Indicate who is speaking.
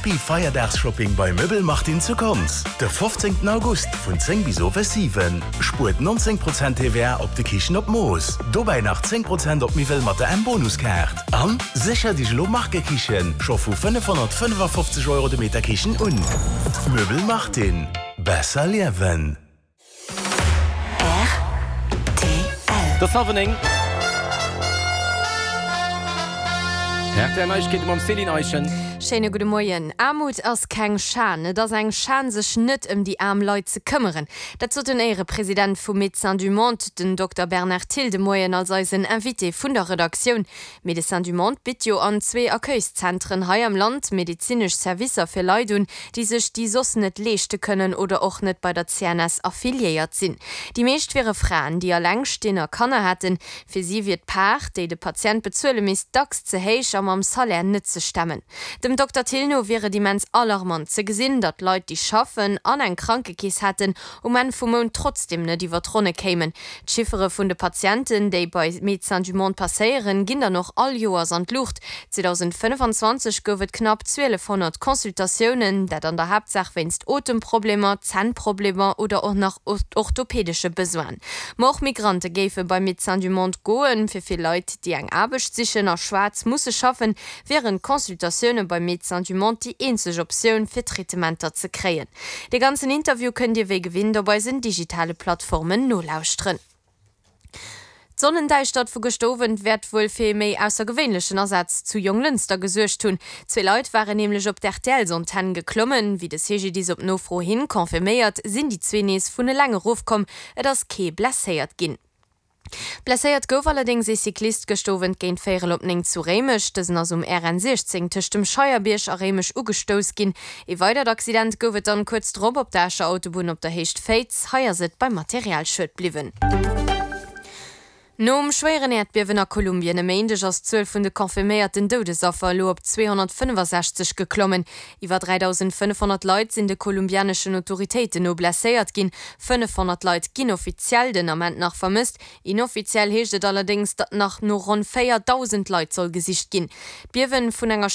Speaker 1: Happy Feierdagsshopping bei Möbel Martin zu Konz de 15 August vun 10 bis owes 7. Spuert 19 Prozent TVA op de Kichen op Mooss, dobäi nach 10 Prozent op Miwwel mat der M-Bonuskaart. An sécher dech elo Markekichen scho vu 555 Euro de Meter Kichen un. Möbel Martin, besser liewen.
Speaker 2: Rtl. Et ass hallwer 9. Rtl Neiegkeete mam Céline Eischen.
Speaker 3: Schéine gudde Moien. Aarmut ass keng Schan. Et ass eng Schan, sech net ëm déi aarm Leit ze këmmeren. Dat sot den Éierepresident vu Médecins du Monde, den Dokter Bernard Thill, de Moien als eisen Invité vun der Redaktioun. Médecins du Monde bitt jo an zwee Accueilszentren hei am Land medezinesch Servicer fir Leit un, déi sech déi soss net leeschte kënnen oder och net bei der CNS affiliéiert sinn. Déi meescht wiere Fraen, déi alleng stinn a Kanner hätten. Fir si wier d'Part, déi de Patient bezuele misst, dacks ze héich a mam Salaire net ze stemmen. Dem Dokter Thill no wier et immens alarmant ze gesinn, datt Leit, déi schaffen an eng Krankekeess hätten, um Enn vum Mount trotzdeem net iwwer d'Ronne kéimen. D'Chiffere vun de Patienten, déi bei Médecins du Monde passéieren, ginn dann och all Joers an d'Luucht. 2025 gouf et knapp 1.200 Consultatiounen, dat an der Haaptsaach wéinst Otemproblemer, Zännproblemer oder och nach orthopädesche Besoinen. Ma och Migrante géife bei Médecins du Monde goen. Fir vill Leit, déi eng Aarbecht sichen a schwaarz musse schaffen, wieren d'Consultatioune bei Médecins du Monde déi eenzeg Optioun, fir Traitementer ze kréien. De ganzen Interview kënnt Dir wéi gewinnt op eisen digitale Plattformen nolauschteren. D'Sonnendäischtert vu gëschter Owend wäert wuel fir ee méi aussergewéinlechen Asaz zu Jonglënster gesuergt hunn. Zwee Leit waren nämlech op d'RTLs-Antenn geklommen. Wéi de CGDIS op Nofro hin confirméiert, sinn déi zwee nees vun eleng erofkomm. Et ass kee blesséiert ginn. Blesséiert gouf allerdéngs ee Cyclist gëscht Owend géint véierel op 9 zu Réimech. Dësen ass um RN 16 tëscht dem Scheierbierg a Réimech ugestouss ginn. Ee weidert Accident gouf et dann kuerz drop op der Escher Autobunn op der Héicht Féiz. Hei ass et beim Materialschued bliwwen. Nom schwéieren Äerdbiewen a Kolumbien e Méindeg ass d'Zuel vun de confirméierten Doudesaffer elo op 265 geklommen. Iwwer 3.500 Leit sinn de kolumbianeschen Autoritéiten no blesséiert ginn. 500 Leit ginn offiziell den Ament nach vermësst. Inoffiziell heescht et allerdéngs, datt nach no ronn 4.000 Leit soll gesicht ginn. D'Biewen vun enger.